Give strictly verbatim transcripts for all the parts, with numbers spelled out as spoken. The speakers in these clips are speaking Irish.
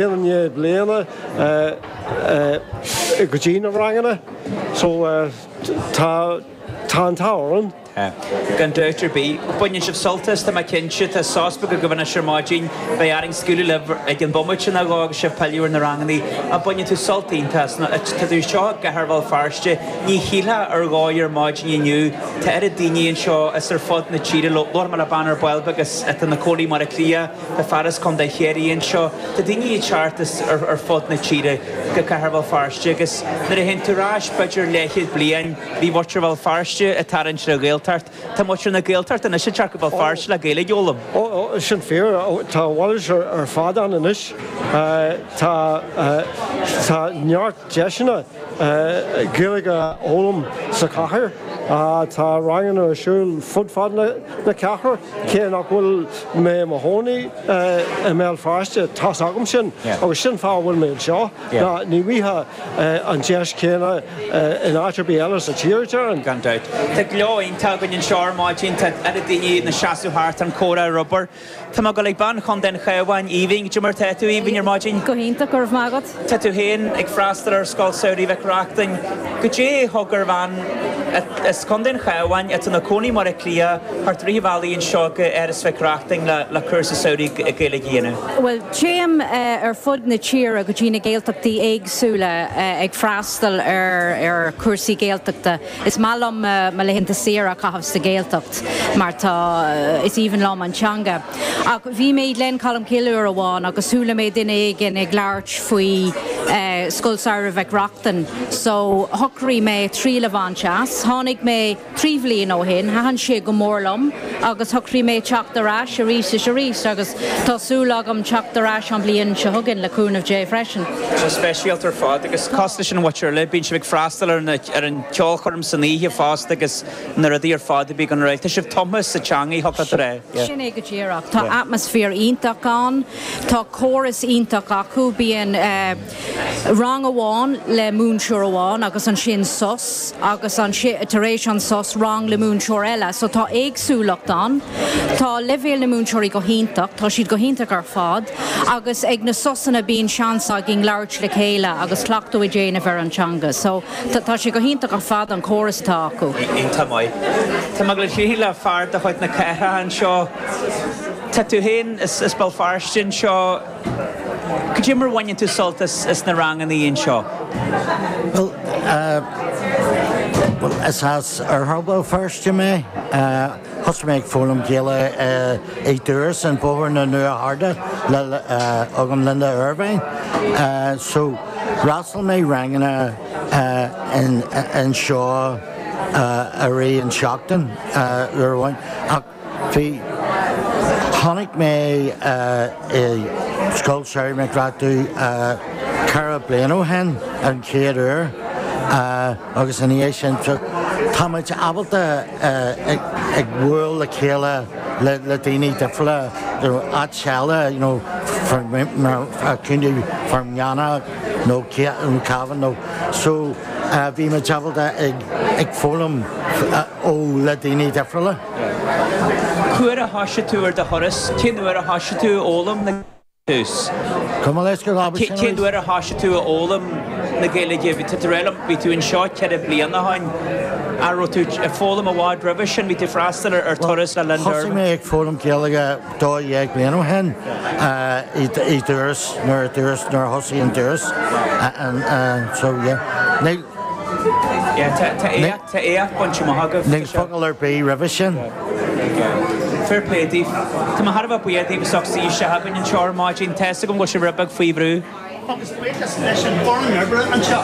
i ndiaidh bliana go dtí na ranganna so tá tá an t-ádh orainn. Gan dabht ar bith. Baineann sibh sult as, tá mé cinnte. Tá sos beag agaibh anois ar maidin. Beidh orainn scaoileadh libh ag an bomaite nó dhó agus sibh pilleadh ar na ranganna. Ach baineann tú sult iontach as. Tá tú anseo i gcathair Bhéal Feirste. Ní shílfeá ar dhóigh ar maidin inniu. Tá oiread daoine anseo as ar fud na tíre. Labhair mé le bean ar ball beag as atá ina cónaí i mBaile Átha Cliath. Tá fear as Contae Chiarraí anseo. Tá daoine ag teacht as ar fud na tíre go cathair Bhéal Feirste agus nuair a théann tú ar ais b'fhéidir leathchéad bliain, bhí muintir Bhéal Feirste ag tarraingt ar an Ghaeltacht. Tá muintir na Gaeltachta anois ag teacht go Béal Feirste le Gaeilge a fhoghlaim. Ó, sin fíor. Tá a mhalairt ar fad ann anois. Tá tá neart deiseanna Gaeilge a fhoghlaim sa chathair. Tá ranganna ar siúl fud fad na cathrach, cé nach bhfuil mé i mo chónaí i mBéal Feirste, tá's agam sin agus sin fáth a bhfuil mé anseo. Ná ní bhfaighfeá an deis chéanna in áit ar bith eile sa tír, déarfainn. Gan dabht. Tá gleo iontach againn anseo ar maidin, tá oiread daoine ina seasamh thart an comhrá ar obair. Tá mé ag dul ag bean Chontae an Chabháin, Aoibhinn. Cad é mar tá tú, Aoibhinn, ar maidin? Go hiontach, go raibh maith agat. Tá tú féin ag freastal ar Scoil Samhraidh Mhic Reachtain. Cad é a thug ar bhean as Contae an Chabháin atá ina cónaí i mBaile Átha Cliath theacht i rith an bhealaigh anseo go Áras Mhic Reachtain le le cúrsa samhraidh Gaeilge a dhéanamh? Bhuel, téim ar fud na tíre go dtí na Gaeltachtaí éagsúla ag freastal ar ar chúrsaí Gaeltachta. Is maith liom mo laethanta saoire a chaitheamh sa Ghaeltacht mar tá is aoibhinn liom an teanga. Ach bhí mé i nGleann Cholm Cille uair amháin agus chuala mé duine éigin ag labhairt faoi Scoil Samhraidh Mhic Reachtain, so shocraigh mé triail a bhaint as. Tháinig mé trí bhliain ó shin, thaitin sé go mór liom agus shocraigh mé teacht ar ais arís is arís agus tá súil agam teacht ar ais an bhliain seo chugainn le cúnamh Dé freisin. Tá speisialta ar fad agus cosúil leis an mhuintir eile, bíonn sibh ag freastal ar ar an cheolchoirm san oíche fosta agus na rudaí ar fad a bhí gan réidh. Tá sibh tumtha sa teanga thiocfadh leat a rá. Sin é go díreach. Tá atmaisféar iontach ann, Tá córas iontach acu bíonn rang amháin le múinteoir amháin agus ansin sos agus an tar éis an sos rang le múinteoir eile, so tá éagsúlacht ann. Tá leibhéal na múinteoirí go hiontach, tá siad go hiontach ar fad, agus ag na sosanna bíonn seans againn labhairt le chéile agus cleachtadh a dhéanamh ar an teanga. So tá sé go hiontach ar fad an córas atá acu. Iontach maith. Tá mé ag le le fear de chuid na cathrach anseo. Tá tú féin as as Béal Feirste anseo. Cad é mar a bhaineann tú sult as as na ranganna anseo? Well, uh, well, is as oirthear Bhéal Feirste mé. Uh, Thosaigh mé ag foghlaim Gaeilge uh, i dTuras an Bóthar na Nua-Harda le uh, agam Linda Ervine. Uh, so d'fhreastail mé ranganna uh, in, anseo uh, a rith an seachtain uh, uair amháin ach bhí tháinig mé uh, i Scoil Samhraidh Mhic Reachtain uh, ceithre bliana ó shin an chéad uair uh, agus ina dhiaidh sin so táimid ábalta uh, ag, ag bualadh le chéile le, le daoine difriúla áit eile you know, Contae Fear Manach nó Cavan nó so uh, bhí mé ábalta ag, ag foghlaim uh, ó le daoine difriúla. Cá huair a thosaigh tú ar do thuras, cén uair a thosaigh tú foghlaim na tús. Cum leis go Cén uair a thosaigh tú a fhoghlaim na Gaeilge bhí tú bhí tú anseo ceithre bliana ó shin a raibh tú ag foghlaim i bhfad roimhe sin bhí tú freastal ar turas le Linda. Thosaigh mé ag foghlaim Gaeilge dó dhéag bliain ó shin i dTuras nuair dTuras nuair a thosaigh an dTuras so yeah. Tá éacht bainte amach agaibh. Níl focal ar bith roimhe sin. Fair play daoibh. Tá mé thar a bheith buíoch daoibh as ucht suí isteach againn anseo ar maidin tá a fhios agam go bhfuil sibh rud beag faoi bhrú. Agus buíochas leis an bhfoireann oibre anseo.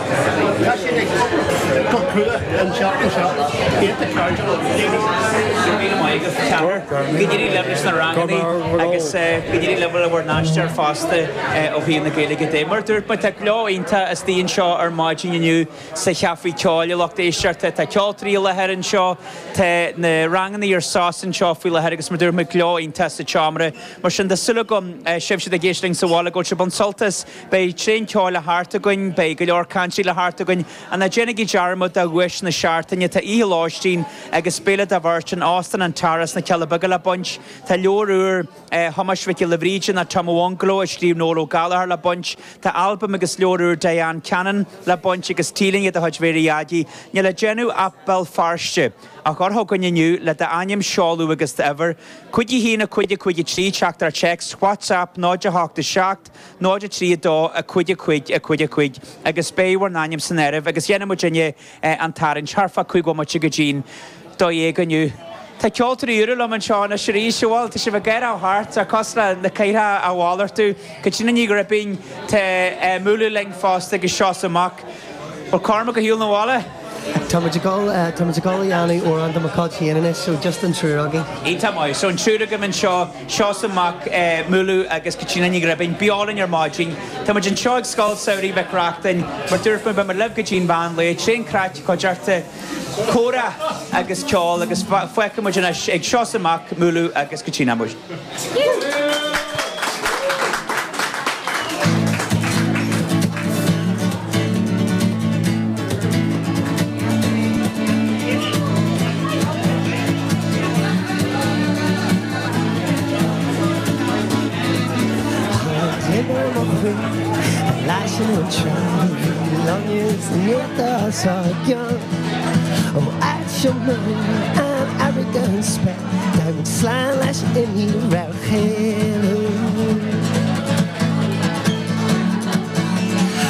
Tá siad ag go crua anseo anseo. Iontach cairdiúil. Míle maith agaibh ceathrar. Go n-éirí libh leis na ranganna agus go n-éirí libh le bhur n-aistear fosta ó thaobh na Gaeilge de. Mar dúirt mé tá gleo iontach istigh anseo ar maidin inniu sa chaife ceoil a lucht éisteachta tá ceoltóirí i láthair anseo tá na ranganna ar sos anseo faoi láthair agus mar dúirt mé gleo iontach sa tseomra. Mar sin tá súil agam sibhse ag éisteacht sa bhaile go bhfuil sibh ag baint sult as beidh Beidh tréan ceoil le theacht againn, beidh go leor cainte le theacht againn, ach ná déanaigí dearmad de dhuais na seachtaine tá oíche lóistín agus béile do bheirt in Óstán an Tara sna Cealla Beaga le baint. Tá leabhar úr eh, Thomáis Mhic Giolla Bhríde nó Tom Bhungalow a scríobh Noel Ó Gallchóir le baint. Tá albam agus leabhar úr Diane Cannon le baint agus T-léine de chuid Mhéara Dhaidí. Níl le déanamh ach Béal Feirste a chur chugainn inniu le d'ainm seoladh agus d'uimhir. Cúig a haon a cúig a cúig a trí teachtaireacht téacs, WhatsApp náid a hocht a seacht, náid a trí a dó a cúig a cúig a cúig a cúig agus beidh bhur n-ainm san áireamh agus dhéanfaidh muidinne an tarraingt thart fá cúig bhomaite go dtí'n dó dhéag inniu. Tá ceoltóirí úra liom anseo anois arís, bhuel tá sibh ag éirí thart ar cos le na caortha a mhalartú. Caitríona Ní Ghribín tá múlú linn fosta agus Seosamh Mac. Bhfuil Cormac ar shiúl na bhaile? Tá muid ag dul tá muid ag dul a dhéanamh amhrán de mo chuid féin anois, so just an triúr againn. Iontach maith, so an triúr agaibh anseo, Seosamh Mac, Múlú agus Caitríona Ní Ghribín, beo linn ar maidin. Tá muid anseo ag Scoil Samhraidh Mhic Reachtain, mar dúirt mé beidh muid libh go dtí'n mheán lae, tréan craic, cuideachta, comhrá agus ceol agus fágfaidh muid anois ag Seosamh Mac, Múlú agus Caitríona muid. Slán leis an imní raibh chéile.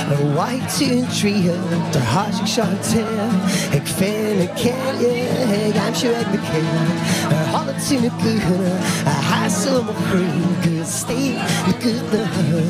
Ar mhaith tú an triail tar thosaigh seo an tsaol ag féin na céile ag aimsiú ag na céile ar chuala tú na guthanna a sheasamh mo chroí go stíl na guthanna